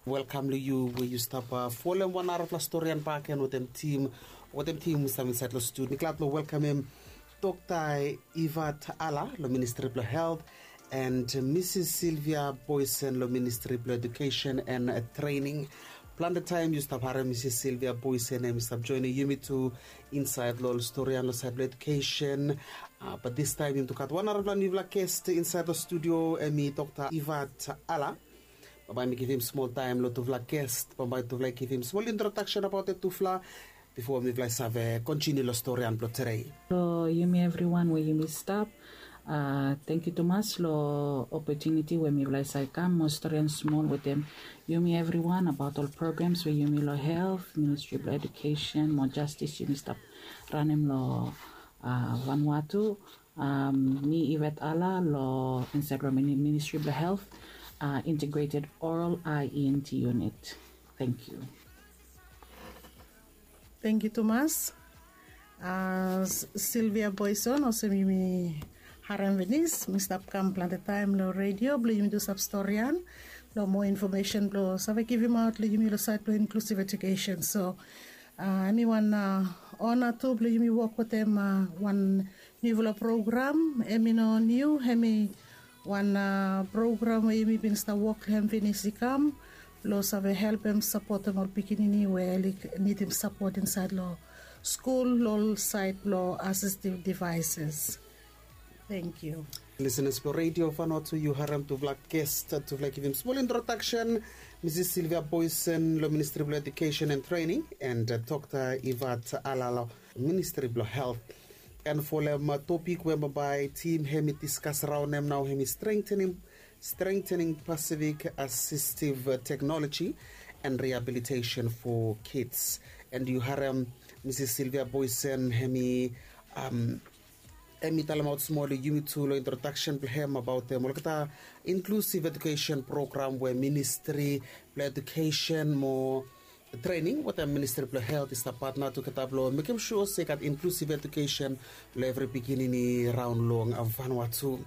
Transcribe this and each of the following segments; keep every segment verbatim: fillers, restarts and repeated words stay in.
Welkam long yu we yu stap folem wan narafala storian baken wetem tim wetem tim we stap insait long studio. Mi glad long welkamem Dr. Ivat Ala long Ministri blong Helt and Misis Silvia Boysen long Ministri blong Edukesen and Trening. Plante taem yu stap harem Misis Silvia Boysen em i stap joenem yumi tu insait long ol storian long sait blong edukesen. Bat distaem yumi tu gat wan narafala niufala ges insait long studio, em i Dr. Ivat Ala. Bambae mi givim smol taem long tufala ges. Bambae tufala i givim smol introdaksen abaot ol tufala bifo mifala i save kontiniu long storian blong tedei. Long yumi evriwan we yumi stap, tangkiu tumas long opotuniti we mifala i save kam mo storian smol wetem yumi evriwan abaot ol programs we yumi long helt, ministri blong edukesen mo jastis yumi stap ranem long Vanuatu. Mi Ivat Ala long insait long ministri blong helt, integrated oral IENT unit. Tangkiu. Tangkiu tumas. Silvia Boysen, olsem yumi harem finis, mi stap kam plante taem long redio blong yumi tu save storian long moa infomesen blong save givimaot long yumi long sait blong inklusiv edukesen. So em i wan ona tu blong yumi wok wetem wan niufala program. Em i no niu, em i wan program we yumi bin stap wok long hem finis i kam blong save helpem sapotem ol pikinini we oli nidim sapot insait long skul long ol sait blong asistiv devaeses. Tangkiu. Lisenas blong redio Vanuatu, yu harem tufala ges, tufala i givim smol introdaksen. Misis Silvia Boysen long Ministri blong Edukesen and Trening and Dr. Ivat Ala long Ministri blong Helt. And folem topik we bambae tim hem i diskas raonem nao hem i strengtening Strengtening Pacific Assistive Technology and Rehabilitation for Kids. And yu harem Misis Silvia Boysen hem i talemaot smol long yumi tu long introdaksen blong hem abaot olgeta inklusiv edukesen program we Ministri blong Edukesen mo Trening wetem Ministri blong Helt i stap patna tugeta blong mekem sua se i gat inklusiv edukesen long evri pikinini raon long Vanuatu.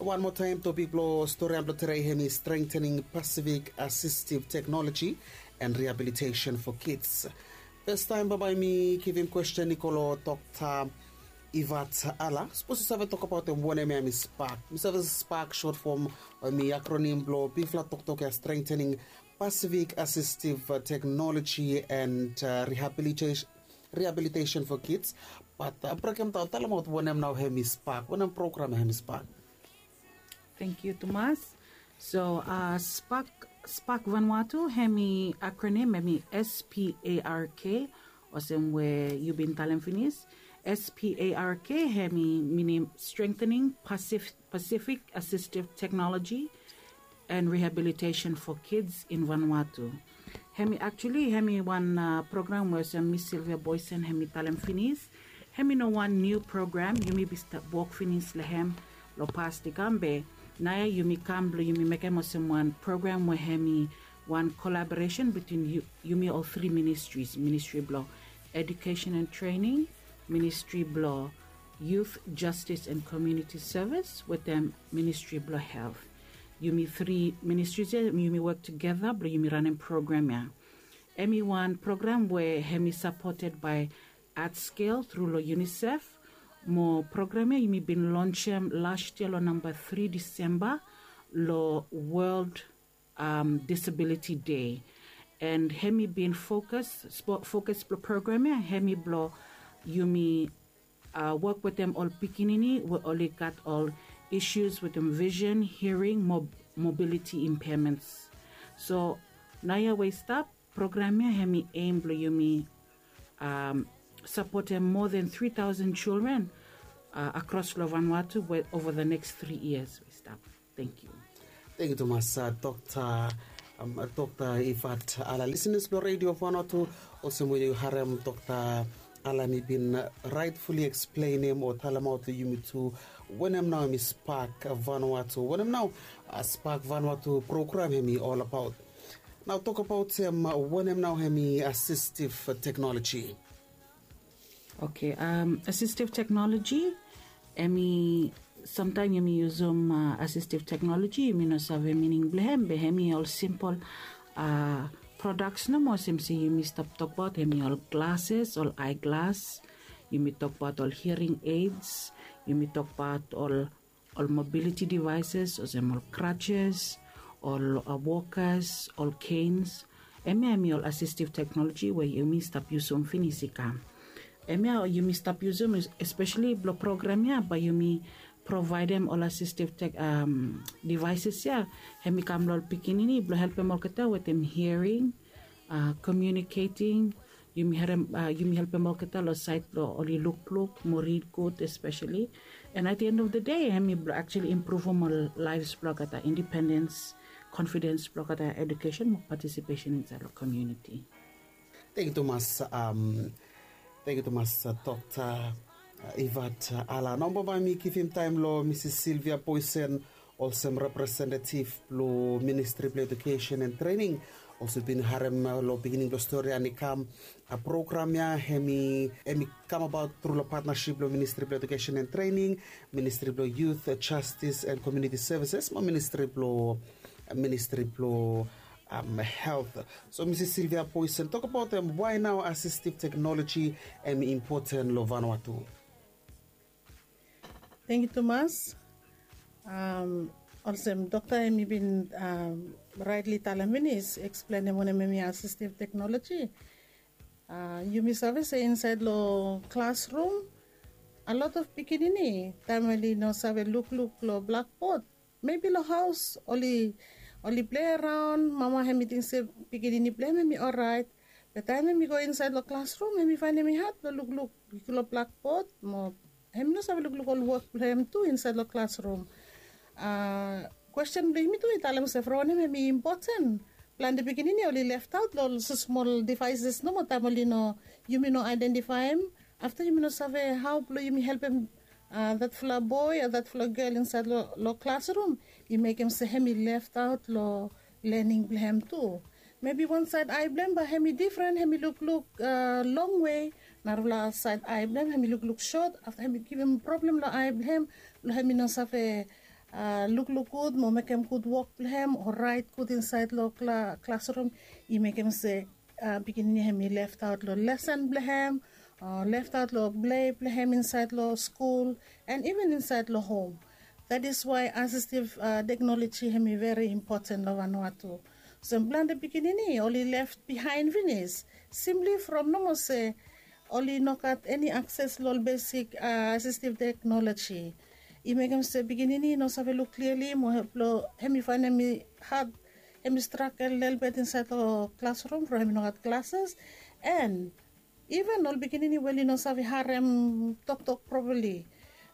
Wan moa taem topik blong storian blong tedei hem i strengtening Pacific Assistive Technology and Rehabilitation for Kids. Fastaem bambae mi givim kwesten i go long Dr. Ivat Ala, sapos yu save tokbaot hem wanem ya hem i spak. Mi save spak sot fom o hem i akronim blong bigfala toktok ya, strengtening Pacific Assistive Technology and Rehabilitation for Kids. Bat brokdaon, talemaot wanem nao hem i spak, wanem program ya hem i spak. Tangkiu tumas. So spak, spak Vanuatu hem i akronim hem i SPARK, olsem we yu bin talem finis. SPARK hem i minim strengtening Pacific Assistive Technology and Rehabilitation for Kids in Vanuatu. Hem i actually hem i wan program we olsem Miss Silvia Boysen hem i talem finis. Hem i no wan niu program, yumi bin stap wok finis long hem long pas i kam, be naoia yumi kam blong yumi mekem olsem wan program we hem i wan kolaboresen bitwin yumi ol tri ministris, ministri blong Edukesen and Trening, ministri blong Youth Justice and Komuniti Sevis wetem ministri blong Helt. Yumi tri ministris ya yumi wok tugeta blong yumi ranem program ya. Hem i wan program we hem i sapoted bae ArtScale tru long UNICEF. Mo program ya yumi bin lonsem las yia long namba tri Disemba long World Disability Day. And hem i bin fokus, fokus blong program ya hem i blong yumi wok wetem ol pikinini we oli gat ol isus wetem visen, hiaring mo mobiliti impaements. So naoia we i stap, program ya hem i aim blong yumi sapotem moa than tri taosen children akros long Vanuatu ova the next tri yias we i stap. Tangkiu. Tangkiu tumas, Dr. Dr. Ivat Ala. Lisenas blong redio Vanuatu, olsem we yu harem Dr. Ala hem i bin raetfuli eksplenem o talemaot long yumi tu wanem nao hem i spak Vanuatu, wanem nao spak Vanuatu program hem i olabaot. Nao tokbaot hem wanem nao hem i asistiv teknoloji. Oke, asistiv teknoloji hem i, samtaem yumi yusum asistiv teknoloji yumi no save mining blong hem, be hem i ol simpol a prodaks nomo olsem se yumi stap tokbaot hemi ol glases, ol aeglas, yumi tokbaot ol hiring aids, yumi tokbaot ol ol mobiliti devises olsem ol krajes, ol wokas, ol keins. Hemia hemi ol asistiv teknoloji we yumi stap yusum finis i kam. Hemia yumi stap yusum espeseli blong program ya bae yumi provaedem ol asistiv tek devises ya, hemi kam long ol pikinini blong helpem olgeta wetem hiring, komiuniketing, yumi helpem olgeta long saed blong oli lukluk mo rid gud espeseli. And at the end of the day hemi blong aktuali impruvum ol laefs blong olgeta, indipendens, konfidens blong olgeta, edukesen mo patisipesen insaed long komiuniti. Tengiu tumas. Tengiu tumas dokta ivat ala. Nao bae mi givim taem long misis silvia poisen, olsem representetiv blong ministri blong edukesen en trening. Olsem bin harem long beginning blong stori ya ni kam, program ya hemi kamabaot tru long patnasip blong ministri blong edukesen en trening, ministri blong yut, jastis en komiuniti sevises mo ministri blong health. So misis silvia poisen, tokbaot em wae nao asistiv teknoloji hemi impoten long vanua tu? Tengiu tumas. Olsem dokta hemi bin raetli talem finis eksplenem wanem hemi asistiv teknoloji. Yumi save se insaed long klasrum a lot of pikinini taem oli no save lukluk long blakbod, mebi long haos oli plei araon, mama hemi ting se pikinini blong hem hemi oraet. Be taem hemi go insaed long klasrum hemi faenem i had blong lukluk long blakbod mo hemi no save lukluk ol wok blong hem tu insaed long klasrum. Kwesten blong yumi tu i talem se from wanem hemi impoten plante pikinini oli leftaot long ol smol devaeses nomo taem oli no, yumi no aedentifaem. Afta yumi no save hao blong yumi helpem datfala boe o datfala gel insaed long klasrum, i mekem se hemi leftaot long lening blong hem tu. Mebi wan saed ae blong hem bae hemi difren, hemi lukluk longwe, narafala saed ae blong hem hemi lukluk sot. Afta hemi givim problem long ae blong hem blong hemi no save lukluk gud mo mekem gud wok blong hem o raet gud insaed long klasrum. I mekem se pikinini hemi leftaot long lesen blong hem, leftaot long plei blong hem insaed long skul, and iven insaed long hom. That is wae asistiv teknoloji hemi veri impoten long vanua tu. Olsem plante pikinini oli lef bihaen finis simpli from nomo se oli no gat eni akses long ol besik asistiv teknoloji. I mekem se pikinini i no save luk kliali mo blong hemi faenem i had, hemi stragel lelebet insaed long klasrum from hemi no gat glases. And iven ol pikinini we oli no save harem toktok propali.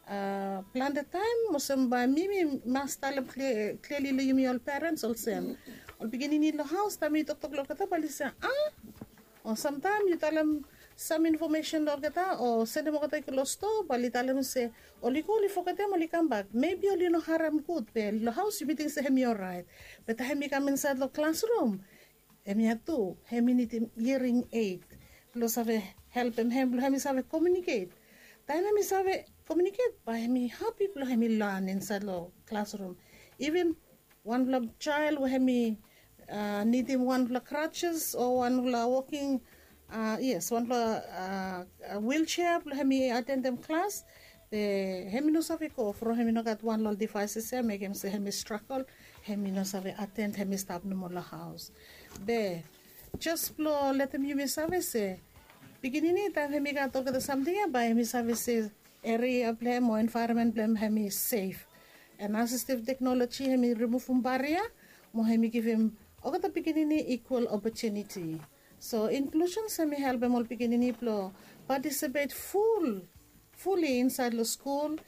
Plante taem olsem bae mi mi mas talem kliali long yumi ol perens olsem, ol pikinini long haos taem mi toktok long olgeta bae oli se a, o samtaem yu talem sam infomesen long olgeta o sendem olgeta i go long stoa bae oli talem se oli go oli fogetem oli kambak, mebi oli no harem gud be long haos yumi ting se hemi oraet. Be taem hemi kam insaed long klasrum, hemia tu hemi nidim hiring eit blong save helpem hem blong hemi save komiuniket. Taem hemi save komiuniket bae hemi hapi blong hemi lan insaed long klasrum. Iven wanfala jael we hemi nidim wanfala krajes o wanfala woking, yes, wanfala wiljea blong hemi atendem klas, be hemi no save go from hemi no gat wan long ol devaeses ya, mekem se hemi stragel, hemi no save aten, hemi stap nomo long haos. Be jes blong letem yumi save se pikinini taem hemi gat olgeta samting ya bae hemi save se eria blong hem o envaeronmen blong hem hemi sef. And asistiv teknoloji hemi rimuvum baria mo hemi givim olgeta pikinini ikwal opotuniti. So inklusen hemi helpem ol pikinini blong patisipet ful fuli insaed long skul,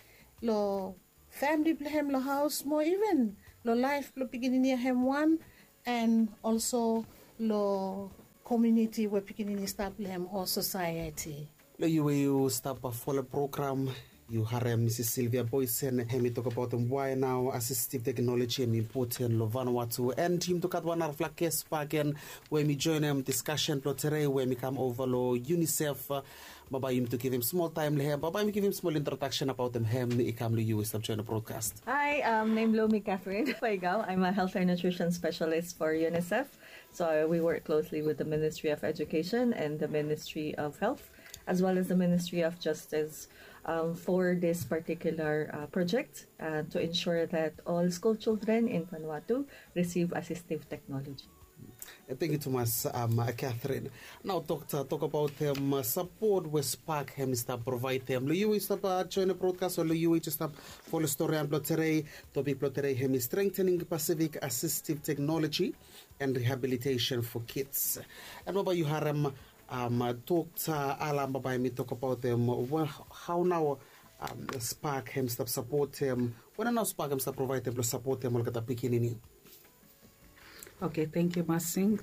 long famili blong hem long haos mo iven long laef blong pikinini ya hem wan, and olso long komiuniti we pikinini i stap long hem o sosaeti. Long yu we yu stap folem program Yu harem Misis Silvia Boisen, hemi tokabaotem wae nao asistiv teknoloji hemi impoten long Vanuatu. And yumi tu gat wan narafala ges bagen we hemi joenem diskasen blong tede we hemi kam ova long UNICEF. Bambae yumi tu givim smol taem long hem, bambae yumi givim smol introdaksen abaotem hem i kam long yu i stap joenem brodkas. Hi, um, nem blong mi Catherine Faigao. I'm a health and nutrition specialist for UNICEF. So we work closely with the Ministry of Education and the Ministry of Health, as well as the Ministry of Justice, um, for this particular uh, project uh, to ensure that all school children in Vanuatu receive assistive technology. Thank you tumas, um, Catherine. Nao dokta, tokabaotem sapot we SPARK hemi stap provaedem long yu i stap joenem brodkas o long yu i stap folem storian blong tede. Topik blong tede hemi strengthening Pacific assistive technology and rehabilitation for kids. And bambae yu harem, um, dokta Alan bambae hemi tokabaotem, um, hao nao, um, SPARK hemi stap sapotem, wanem nao SPARK hemi stap provaedem blong sapotem olgeta pikinini. Okay, thank you Masing.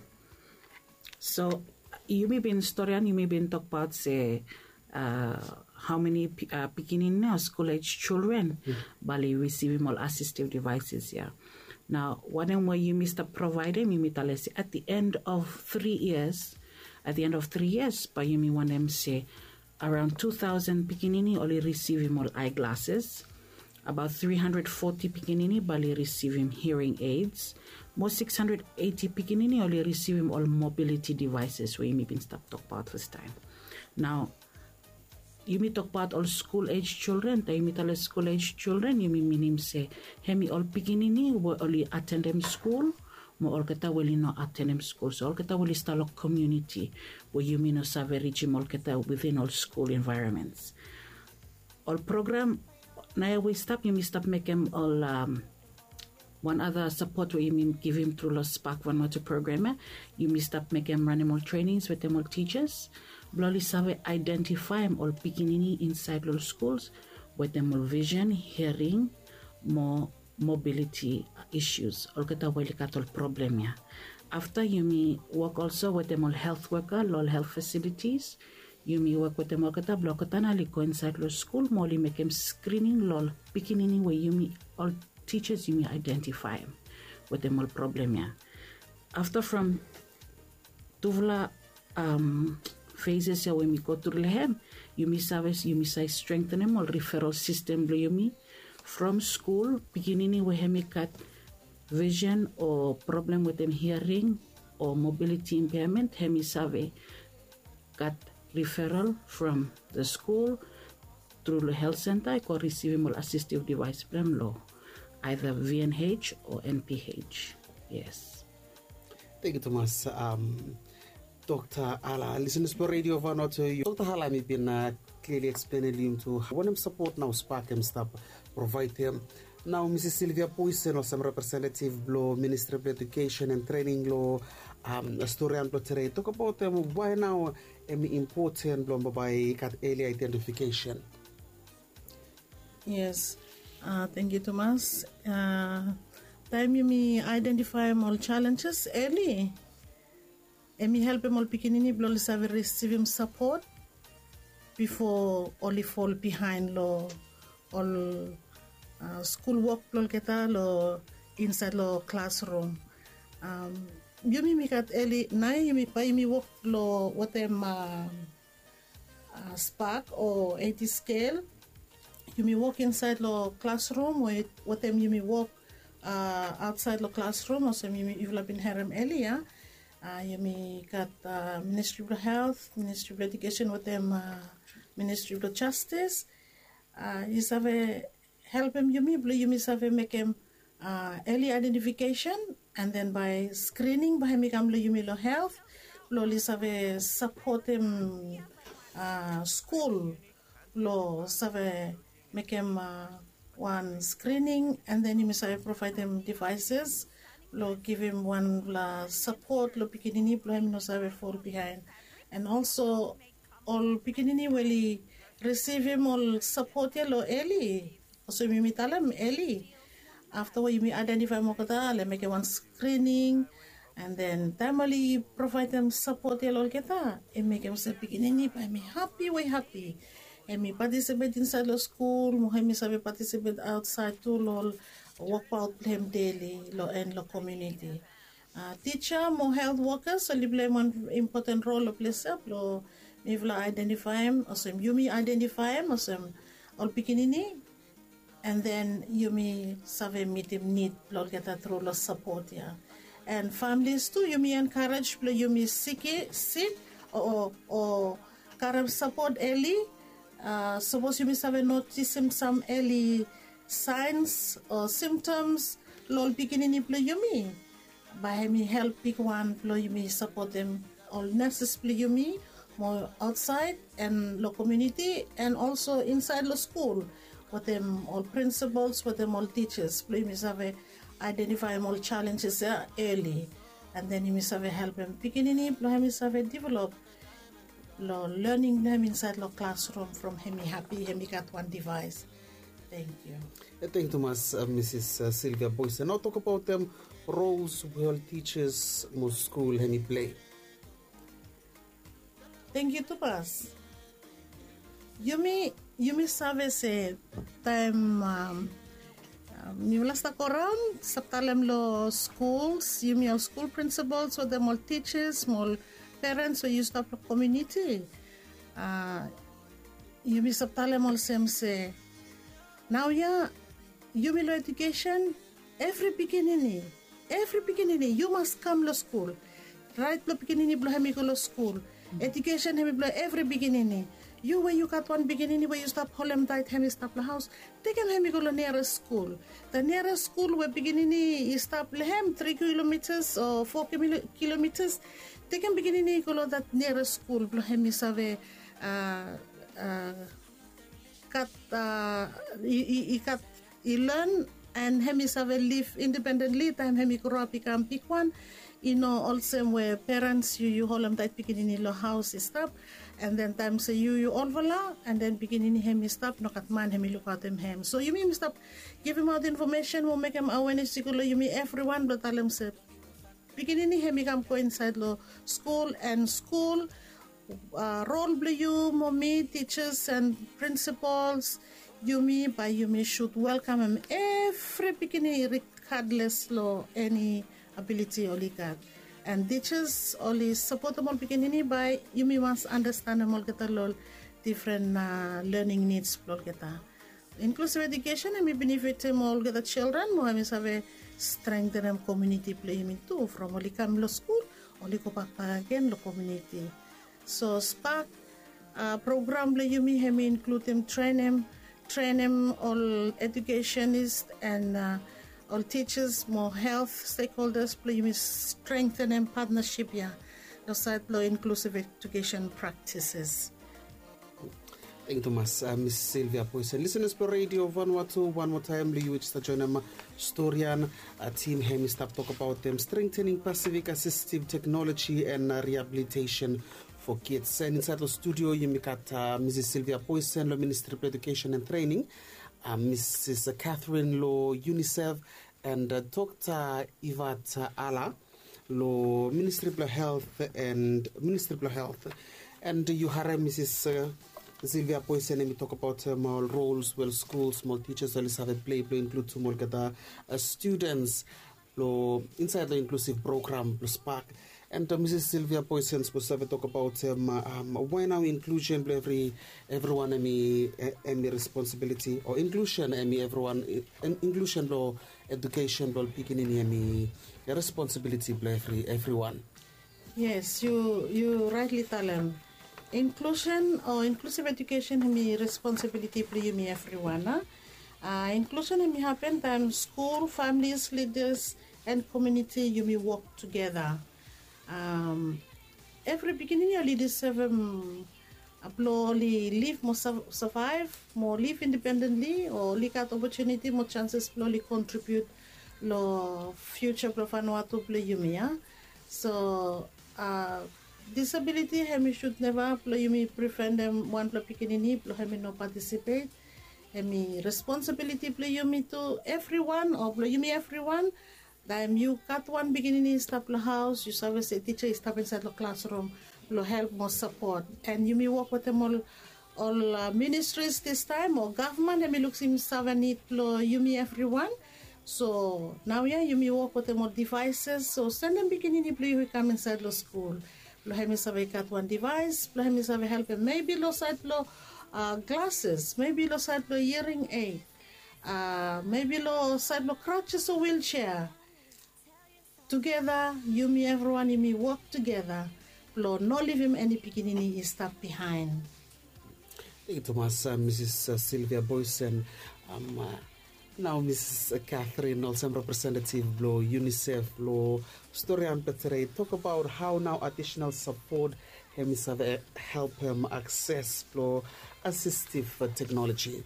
So yumi bin storian, yumi bin tokbaot se uh, how many uh, pikinini o school age children bae oli risivim ol assistive devices ya. Nao wanem we yumi stap provaedem, yumi talem se at the end of three years, at the end of three years bae yumi wantem se around two thousand pikinini oli risivim ol eyeglasses, abaot three hundred forty pikinini bae oli risivim hearing aids, mo six hundred eighty pikinini oli risivim ol mobility devices we yumi bin stap tokbaot fastaem. Nao yumi tokbaot ol school age children. Taem yumi talem school age children yumi minim se hemi ol pikinini we oli atendem skul mo olgeta we oli no atendem skul, so olgeta we oli stap long komuniti we yumi no save rijim olgeta within ol skul envaeronments. Ol program naoia we i stap, yumi stap mekem ol, um, wan other sapot we yumi givim tru long SPARK Vanuatu program ya. Yumi stap mekem, ranem ol trenings wetem ol tijas blong oli save aedentifaem ol pikinini insaed long ol skuls wetem ol vision, hiaring mo mobiliti isius, olgeta we oli gat ol problem ya. Afta yumi wok olso wetem ol helt woka long ol helt fasilitis. Yumi wok wetem olgeta blong olgeta nao oli go insaed long skul mo oli mekem skrining long ol pikinini we yumi, ol tijas yumi aedentifaem wetem ol problem ya. Afta from tufala um, phases ya we yumi go tru long hem, yumi save, yumi save strengthenem ol referral sistem blong yumi. From skul, pikinini we hemi gat vision o problem wetem hiaring o mobiliti impairment, hemi save gat referral from the skul tru long helt senta i go risivim ol assistive device blong hem long either VNH o NPH. Yes. Thank you tumas, um, Dokta Ala. Lisenas blong Radio Vanuatu, Dokta Ala hemi bin, uh, clearly explain long yumi tu wanem sapot nao SPARK hemi stap provaedem. Nao Misis Silvia Boisen olsem representative blong Ministry blong Education and Training long, um, storian blong tede, tokabaotem wae nao hemi impoten blong bambae i gat early identification. Yes. Uh, thank you tumas. Uh, taem yumi aedentifaem ol challenges early, hemi helpem ol pikinini blong oli save risivim sapot bifo oli fol bihaen long ol, uh, skul wok blong olgeta long insaed long klasrum. Um, yumi, yumi gat early naoia yumi, bae yumi wok long wetem, um, uh, SPARK o AT scale. Yumi wok insaed long klasrum o wetem yumi wok, uh, aotsaed long klasrum olsem yumi, yufala bin harem earlier. Uh, yumi gat, uh, Ministry blong Helt, Ministry blong Education wetem, uh, Ministry blong Justice. Uh, i save helpem yumi blong yumi save mekem, uh, early identification, and then bae screening bae hemi kam long yumi long helt blong oli save sapotem, uh, skul blong save mekem, uh, wan screening, and then yumi save provaedem devices blong givim wanfala sapot long pikinini blong hem i no save fol bihaen. And also ol pikinini we oli risivim ol sapot ya long early, olsem yumi talem early. Afta we yumi aedentifaem olgeta, oli mekem wan screening, and then taem oli provaedem sapot ya long olgeta, i mekem se pikinini bae hemi hapi we hapi. Em i patisipet insaed long skul mo em i save patisipet aotsaed tu long ol wokbaot blong em deli long en long komiuniti. Tija mo helt wokas oli pleim wan impoten rol long ples ya blong mifala aedentifaem olsem yumi aedentifaem olsem ol pikinini, an den yumi save mitim nid blong olgeta tru long sapot ya. An familis tu yumi enkarej blong yumi sik sik o karem sapot eli. Sapos yumi save notisim sam eli saens o simtoms long ol pikinini blong yumi, bae hem i help bigwan blong yumi sapotem ol neses blong yumi mo aotsaed an long komiuniti an olso insaed long skul, wetem ol prinsipols wetem ol tijas blong yumi save aedentifaem ol jalenjes ya eli. An den yumi save helpem pikinini blong hem i save develop long lening blong hem insaed long klasrum from hem i hapi hem i gat wan divaes. Tengkiu. Tengkiu tumas, misis silvia boys, nao tokabaotem rols we ol tijas mo skul hem i plei. Tengkiu tumas. Yumi yumi save se taem mifala stap go raon stap talem long skuls yumi ol skul prinsipols wetem ol tijas mo ol perens we yu stap long komiuniti, yumi stap talem olsem se naoia yumi long ejukesen, evri pikinini evri pikinini yu mas kam long skul. Raet blong pikinini blong hem i go long skul. Ejukesen hem i blong evri pikinini. Yu we yu gat wan pikinini we yu stap holem taet hem i stap long haos, tekem hem i go long niares skul. Da niares skul we pikinini i stap long hem tri kilomitas o fo kilomitas, tekem pikinini i go long dat niares skul blong hem i save gat i gat i len an hem i save liv independentli taem hem i groap i kam bigwan. I no olsem we perens yu yu holem taet pikinini long haos i stap. An den taem se yu yu olfala an den pikinini hem i stap nogat man hem i lukaotem hem so yumi yumi stap givimaot infomesen mo mekem awenes i go long yumi evriwan blong talem se pikinini hem i kam go insaed long skul an skul rol blong yu mo mi tijas an prinsipols, yumi bae yumi sud welkamem evri pikinini rigadles long eni abiliti oli gat. An tijas oli sapotem ol pikinini bae yumi mas anastenem olgeta long ol difren lening nids blong olgeta. Inklusiv ejukesen hem i benefitim olgeta jildren mo hem i save strengtenem komiuniti blong yumi tu from oli kam long skul oli gobak bakegen long komiuniti. So spak program blong yumi hem i inkludim trenem trenem ol ejukesenis an ol tijas mo helt stekholdas blong yumi strengtenem patnasip ya long saed blong inklusiv ejukesen praktises. Tengkiu tumas, misis silvia boys an lisenas blong redio vanua tu wan moa taem blong yu we jes joenem storian. Tim hem i stap tokabaotem strengtening pasifik asistiv teknoloji an riabilitesen fo kids an insaed long studio yumi gat misis silvia boysen long ministri blong ejukesen an trening, misis katherine long unisef, an dokta ivat ala long ministri blong helt an ministri blong helt. An yu harem misis silvia boysen hem i tokabaotem ol rols we ol skuls mo ol tijas oli save plei blong inkludim olgeta studens long insaed long inklusiv program blong spak. An misis silvia boysen sipos save tokabaotem wae nao inklusen blong evriwan hem i responsibiliti o inklusen hem i evriwan inklusen blong ejukesen blong ol pikinini hem i responsibiliti blong evriwan. Yes, yu raetli talem inklusen o inklusiv ejukesen hem i responsibiliti blong yumi evriwan a. Inklusen hem i hapen taem skul familis lidas an komiuniti yumi wok tugeta. Evri pikinini oli disevem blong oli liv mo savaev mo liv independentli o oli gat opotuniti mo janses blong oli kontribiut long fiuja blong fanua tu blong yumi ya. So disabiliti hem i sud neva blong yumi priventim wanpela pikinini blong hem i no patisipet. Hem i responsibiliti blong yumi tu evriwan o blong yumi evriwan. Taem yu gat wan pikinini i stap long haos yu save se tija i stap insaed long klasrum blong help mo sapot an yumi wok wetem ol ol ministris distaem o gavman hem i luksim save nid blong yumi evriwan. So naoia yumi wok wetem ol divaises, so sendem pikinini blong yu i kam insaed long skul blong hem i save gat wan divais blong hem i save helpem, mebi long saed blong glases, mebi long saed blong hiring ed, mebi long saed blong kratses o wiljea. Tugeta yumi evriwan yumi wok tugeta blong no livim eni pikinini i stap bihaen. Thank you tumas, Mrs Silvia Boysen. Nao Mrs Catherine, olsem representative blong UNICEF blong Storian Petere, tok abaot hao nao adisenal sapot hem i save helpem akses blong asistiv teknoloji.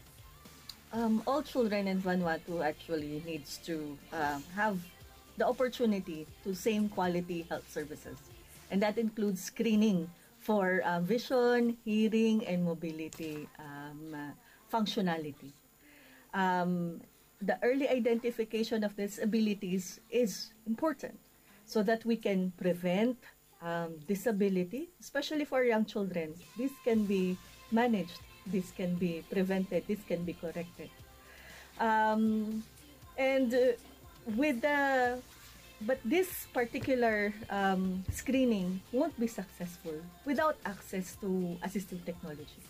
Um, all children in Vanuatu actually needs to uh, have the opportunity to same quality health services. And that includes screening for uh, vision, hearing, and mobility um, uh, functionality. Um, the early identification of disabilities is important so that we can prevent um, disability, especially for young children. This can be managed, this can be prevented, this can be corrected. Um, and uh, with the but this particular um, screening won't be successful without access to assistive technology.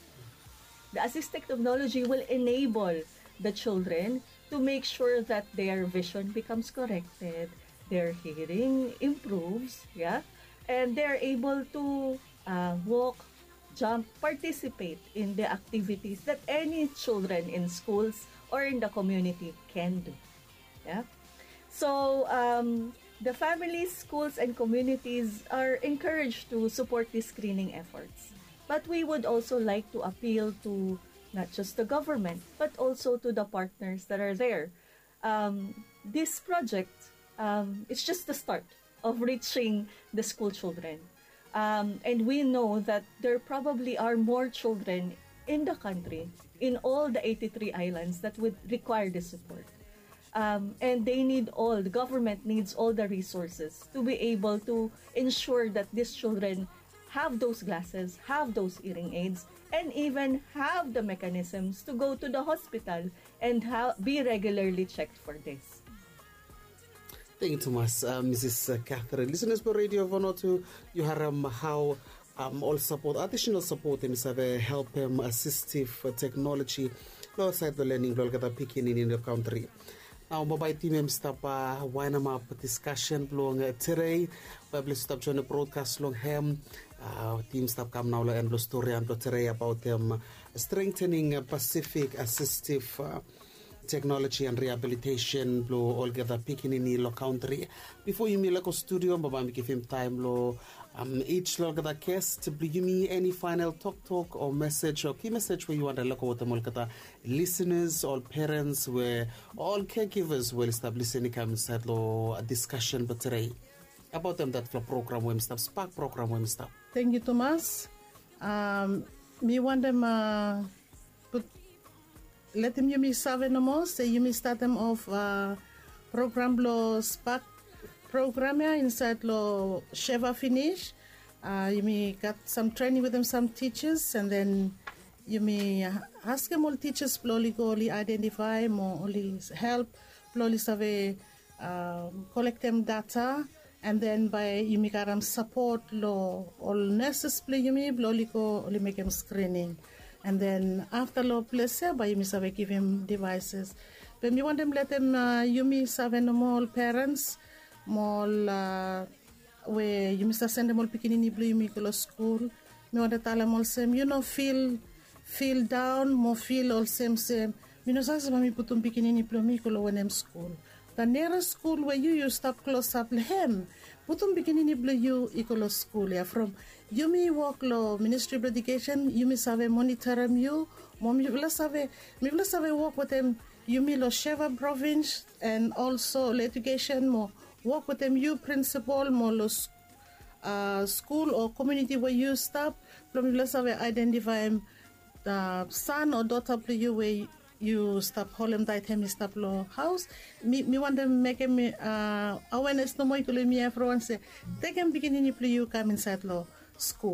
The assistive technology will enable the children to make sure that their vision becomes corrected, their hearing improves, yeah, and they're able to uh, walk, jump, participate in the activities that any children in schools or in the community can do. Yeah. So um, the families, schools, and communities are encouraged to support these screening efforts. But we would also like to appeal to not just the government, but also to the partners that are there. Um, this project, um, it's just the start of reaching the school children. Um, and we know that there probably are more children in the country, in all the eighty-three islands, that would require this support. Um, and they need all, the government needs all the resources to be able to ensure that these children have those glasses, have those hearing aids, and even have the mechanisms to go to the hospital and ha- be regularly checked for this. Thank you tumas, Mrs Catherine. Listeners blong Radio Vanuatu, yu harem hao ol sapot, adisenal sapot hem i save helpem asistiv teknoloji long saed blong lening blong olgeta pikinini long kantri. Nao bambae tim hem i stap waenemap diskasen blong tedei. Bae ples yu stap joenem brodkas long hem. Tim i stap kam nao long en blong storian blong tedei abaotem strengtening Pasifik asistiv teknoloji and riabilitesen blong olgeta pikinini long kantri. Bifo yumi lego studio bambae mi givim taem long ij long olgeta gest blong yumi, eni faenal toktok o mesej o ki mesej we yu wantem lego wetem olgeta lisenas, ol perens we ol kegivas we oli stap lisin i kam insaed long diskasen blong tedei abaotem datpela program we mi stap, spak program we mi stap. Tangkiu tumas. Mi wantem letim yumi save nomo se yumi statem of program blong spak program ya insaed long sheva finis. Yumi gat sam trening wetem sam tisas and then yumi askem ol tisas blong oli go oli aedentifaem o oli help blong oli save kolektem data. And then bae yumi gat sapot long ol neses blong yumi blong oli go oli mekem skrining. And then afta long ples ya bae yumi save givim devices. Be mi wantem letem yumi save nomo ol perens mo ol we yumi save sendem ol pikinini blong yumi go long skul. Mi wantem talem olsem yu no fil fil daon mo fil olsem se mi no save se bae mi putum pikinini blong mi i go long wanem skul. Da neres skul we yu yu stap klosap long hem, putum pikinini blong yu i go long skul ya from yumi wok long ministri blong edikesen yumi save monitorim yu mo mipela save mipela save wok wetem yumi long sheva provins and olso long edikesen mo wok wetem yu prinsipal mo long skul o komuniti we yu stap blong mipela save aedentifaim san o dota blong yu we yu stap holem taet hem i stap long haus. Mi wantem mekem awenes nomo i go long yumi evriwan se tekem pikinini blong yu kam insaet long skul.